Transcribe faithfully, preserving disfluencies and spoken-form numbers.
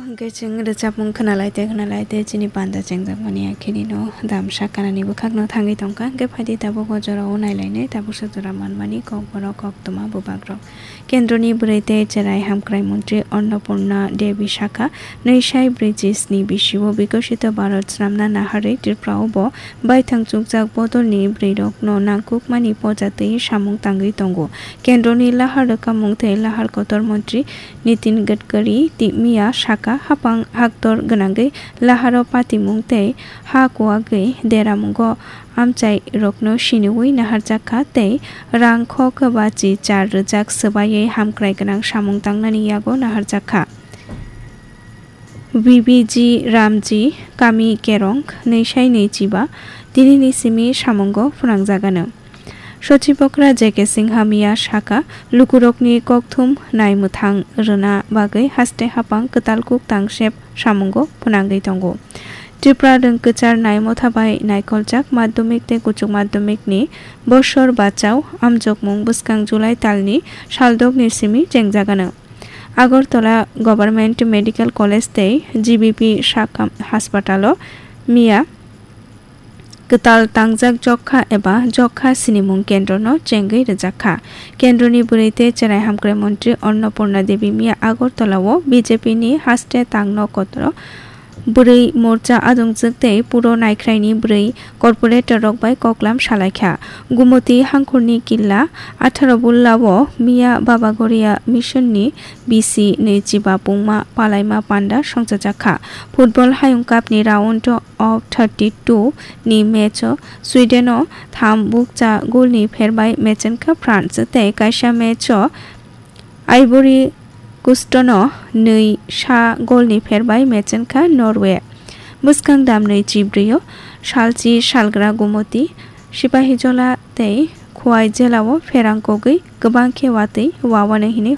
Hwnkhe chwng rwchapmung khwnalai tei khwnalai tei chini panda chengjakmani akhirino damsa kanani bwkhakno thangwi tongkha. Hwnkhe phaidi tabuk o jorao nailainai, tabuksa jora manmani kokborok koktwma bwbakrok. Kendroni bwrwi tei cherai hamkrai montri Annapurna Devi sakha, nwi sai brwi chisni bisio Bikosito Bharat swnamna naharwi Tripurao bo baithang chukjak bodolni bwrwirokno nangkukmani poja twi samung tangwi tongo. Kendroni lahar rwkhamung tei lahar kotor montri Nitin Gadkari ti miya sakha, hapang haktor gwnangwi laharo patimung tei ha kuwagwi deramungo amchairokno siniwi naharjakha tei rang kho kwbachi char rwjak swbaiwi hamkrai gwnang samung tangnani yago naharjakha. B B G Ramji, kami Kerong, nwi sai nwi chiba, tinini simi samungo phwnangjagano. Sochibokra J K Singha miya sakha, lukurokni kokthum naimwthang rwna bagwi haste hapang kwtal kuk tangsep samungo phwnangwi tongo. Tripura rwngkwchar naimotha bai naikoljak madhyamik tei kuchuk madhyamikni bosor bachao amjokmung bwskang July talni saldokni simi chengjagano. Agartala Government Medical College tei G B P sakha haspatalo miya kwtal tangjak jokha eba jokha sinimung kendrono chengwi rwjakha. Kendroni bwrwi tei cherai hamkrai montri Annapurna Devi miya Agartala o B J P ni haste tangno kotoro bwrwi morcha adongjwk tei puro naikhraini bwrwi corporator rok bai koklam salaikha. Gumoti hangkhorni killa atharo bulla o miya Baba Goria Mission ni B C nwi chiba pungma palaima panda songchajakha. Football hayung cup ni round of thirty two ni match o Sweden o tham bukcha goal ni pherbai mechenkha France tei kaisa match o Ivory Coast no nwi sa goal ni pherbai mechenkha Norway. Bwskang damnwi chibrwi o salchi salgra Gumoti, Sipahijola tei Khowai jela o pherang kogwi kwbang khe watwi wawanai hinwi